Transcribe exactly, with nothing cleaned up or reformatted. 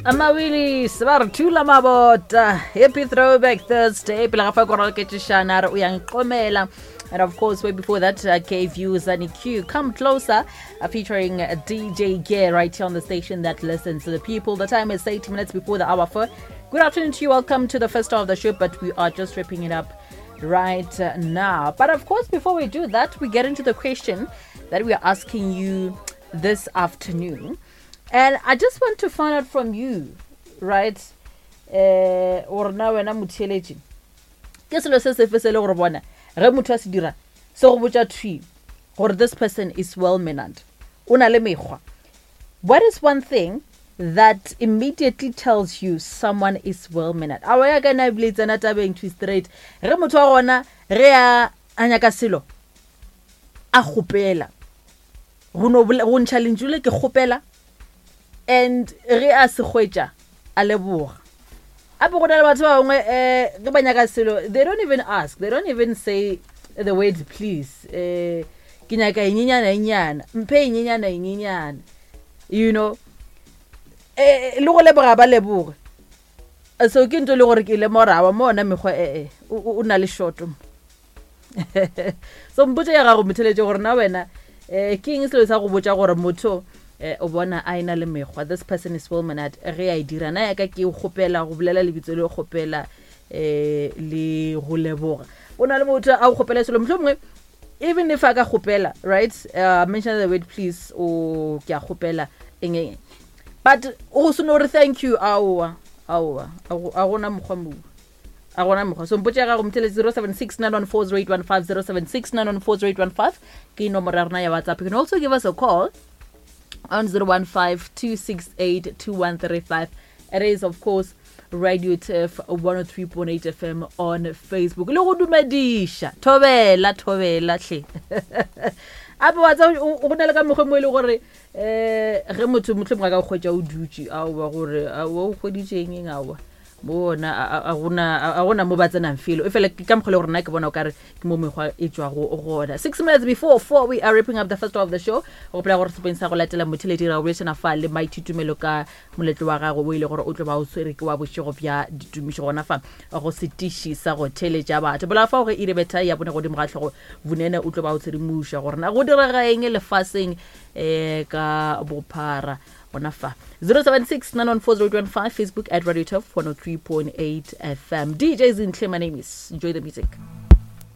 Amawillis ba re thula mabota. Happy Throwback Thursday. Pele ga fa ko roketšešana re o yang qomela. And of course, way before that, uh, gave you Zani Q, Come Closer, uh, featuring uh, D J Gear right here on the station that listens to the people. The time is eight minutes before the hour four. Good afternoon to you. Welcome to the first hour of the show, but we are just wrapping it up right uh, now. But of course, before we do that, we get into the question that we are asking you this afternoon. And I just want to find out from you, right? Uh, or na wena motheeletši, ke selo se sefe se le gore bona ge motho a se dira se go botša thwi gore this person is well mannered, o na le mekgwa? What is one thing that immediately tells you someone is well mannered? Awa ya ka na ebile e tsena tabeng to straight ge motho wa gona ge a a nyaka selo a kgopela go no bole- go ntšha lentšu le "ke kgopela", and ge a se hwetša a leboga. Ape go na le batho ba bangwe um ge ba nyaka selo, they don't even ask, they don't even say the word "please". um ke nyaka enyenyana enyana, mphe enyenyana enyenyana you know um le go leboga ba leboge. So ke ntho e le gore ke lemorawa mo ona mekgwa ee o na le shoto. So mpotse ya gago motheletše gore na wena um ke eng selo sa go botša gore motho um o bona a ena le mekgwa, this person is well mannered ge a e dira. Na yaka ke kgopela go bolela lebitso le kgopela um le go leboga. O na le motho a go kgopela selo, motlho mongwe even if a ka kgopela, right, uh, mention the word "please" o ke a kgopela eng eng, but o se no re "thank you". Aowa, aowa, a go- a gona mokgwa moo, a gona mokgwa. So mpotse ya gago motheletši, zero seven six nine one four zero eight one five, zero seven six nine one four zero eight one five ke nomoro ya rona ya WhatsApp. You can also give us a call on zero one five, two six eight, two one three five. It is, of course, Radio Turf one oh three point eight F M on Facebook. Le go dumediša, thobela, thobela hle. Ape wa tsa go na le ka mokgwa mo e le gore um ge motho mohlomongwe a ka kgwetsa o dutše, aowa, gore aowa o kgweditše eng eng, aowa mo ona a gona a gona mo ba tsenang felo e fela ke ka mokgwa le gore nna ke bona o kare ke mo mekgwa e tswago gona. Six minutes before four, we are wrapping up the first hour of the show. Go gopola gore sepeng sa go latela motheletši ra go bolešana fa le Maithutumelo ka moletlo wa gagwe o ile gore o tlo ba o tshwere ke wa bošego bja ditumišo gona fa go setiši sa go theletša batho bola fa gore ire betha ya bone godimo ga tlhogo bonene o tlo ba o tshedimoša gore na go direga eng lefaseng um ka bophara gona fa. zero seven six, nine one four, zero eight one five, Facebook at Radio Turf one oh three point eight F M. D J Zinhle, my name is. Enjoy the music.